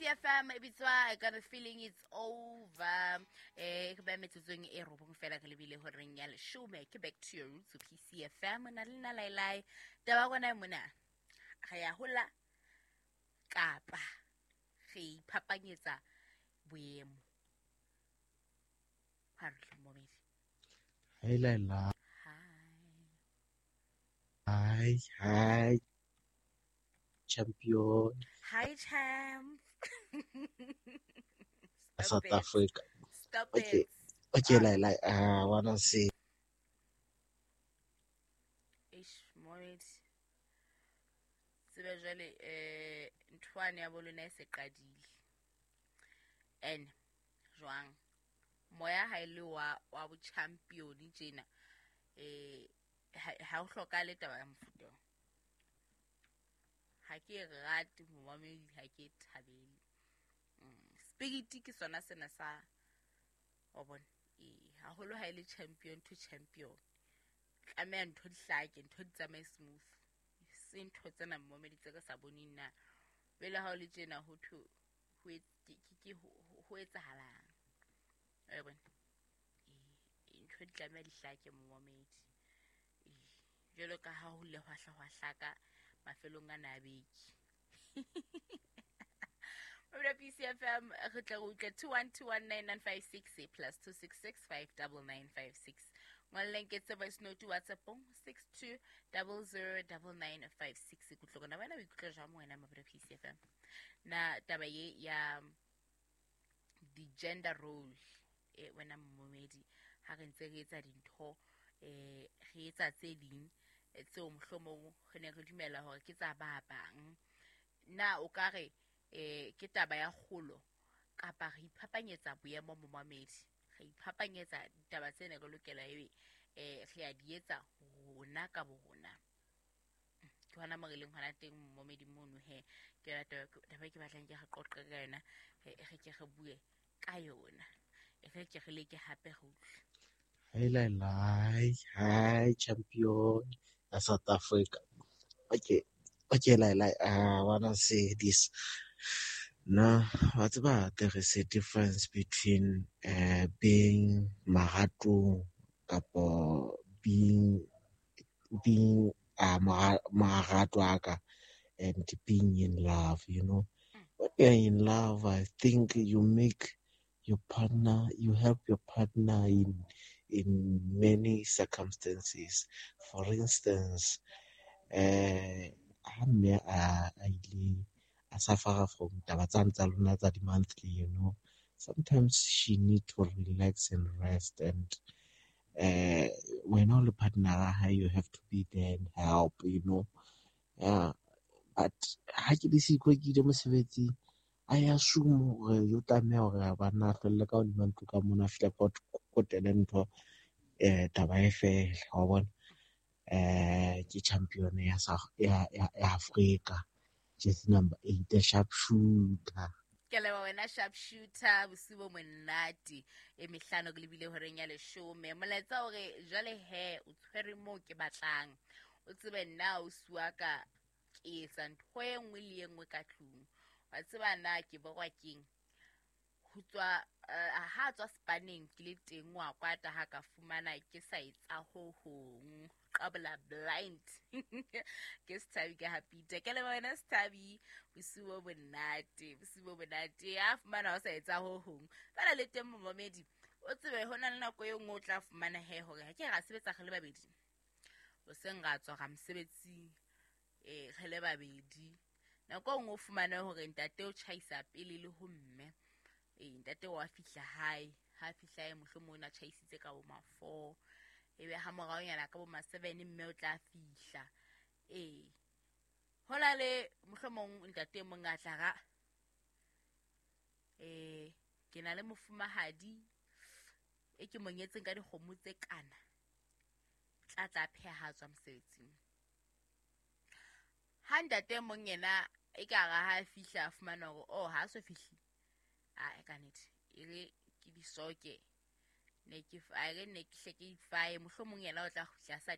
PCFM e bitswa I Got a Feeling It's Over. Re ba metsotsong e robong fela re lebile horeng ya leshome. Ke Back to Your Roots PCFM na le nna Lailai. Taba rona e mona re ya hola kapa re iphapanyetsa boemo. Ha re hle momedi. Hi Laila. Hi. Hi, hi. Champion. Hi, champ. Stop South it. Africa. Stop Okay. it. Okay, Laila, I wanna say Eish, momedi. Tsebe jwale nthwane ya bolona e se qadile. And jwang moya ha ile wa bo champion tjena ha o hlokahale taba ya mofuta o. Ha ke rate momamedi, ha ke thabele. Spirit ke sona sena sa wa bona. Haholo ha ile champion to champion. Tlameha ntho di hlake, ntho di tsamaye smooth. Se ntho tsena momamedi tse re sa boneng na. Pele ha o le tjena ho thwe ke ho etsahalang. Wa bona? Ntho di tlameha di hlake momamedi. Jwalo ka ha ho le hwahla hwahlaka mafelong a na beke. Mabela PCFM re tla re utlwa 21219956 plus 266 59956. Ngwalleng ke tse voice note WhatsApp-ong 62009956. Ke utlwe wena o ikutlwa jwang wena Mabela PCFM? Na taba ye ya di-gender role wena momedi ha re ntse re etsa dintho re etsa tse ding tseo mohlomong re ne re dumela hore ke tsa ba bang, na o ka re ke taba ya kgolo kapa re iphapanyetsa boemo momamedi, re iphapanyetsa ditaba tse ne re lokela ebe re a di etsa rona ka bo rona? Ke hona mo re leng hona teng momedi mono he. Ke yona taba ke batlang ke re qoqe ka yona, re ke re bue ka yona, re ke re leke hape re utlwe. Hi Laila, hi champion ya South Africa. Okay, okay Laila, I wanna say this. No, wa tseba there is a difference between being maratong kapo being marato aka and being in love, you know. When you're in love, I think you make your partner, you help your partner in many circumstances. For instance, ha mme a ile a suffer from taba tsane tsa lona tsa di-monthly, you know. Sometimes she need to relax and rest, and wena o le partner ya hae, you have to be there and help, you know. Yeah, but ha ke le siko ke ile mosebetsing, I assume hore o tlameha hore banna a hlwelle ka hodima ntlo ka mona, a fihle kotele ntho taba e fele, wa bona. Ke champion ya Africa, jersey number 8, sharp shooter. Ke leboha wena sharp shooter, bosiu bo monate e mehlano ke lebile horeng ya leshome. Molaetsa hore jwale he o tshwere moo ke batlang, o tsebe nna o suaka ke etsa ntho e nngwe le e nngwe ka tlung. Wa tseba na ke borwa keng ho tswa ha tswa spaneng ke le teng wa kwata ha ka fumana ke sa etsa ho hong, qabla blind. Ke Sethabi ka Hapita. Ke leboha wena Sethabi, bosiu bo monate, bosiu bo monate. Ha fumana o sa etsa ho hong fela le teng momamedi, o tsebe ho na le nako e nngwe o tla fumana he hore ha ke ra sebetsa re le babedi, hoseng ra tswa ra mosebetsing re le babedi. Nako e nngwe o fumane hore ntate o tjhaisa pele le ho mme. Ntate wa fihla hae, ha fihla hae mohlomong o na tjhaisitse ka bo ma 4, ebe ha moraonyana ka bo ma 7 mme o tla fihla. Ho na le mohlomong ntate e mong a tla ra ke na le mofumahadi e ke mo nyetseng ka dikgomo tse kana, tla tla pheha tswa mosebetsing. Ha ntate e mong yena e ka re ha fihla a fumana hore oh ha so fihli, a ka nnete e re ke di soke ne ke a re ne ke hle ke ifaye, mohlomong yena o tla kgutla sa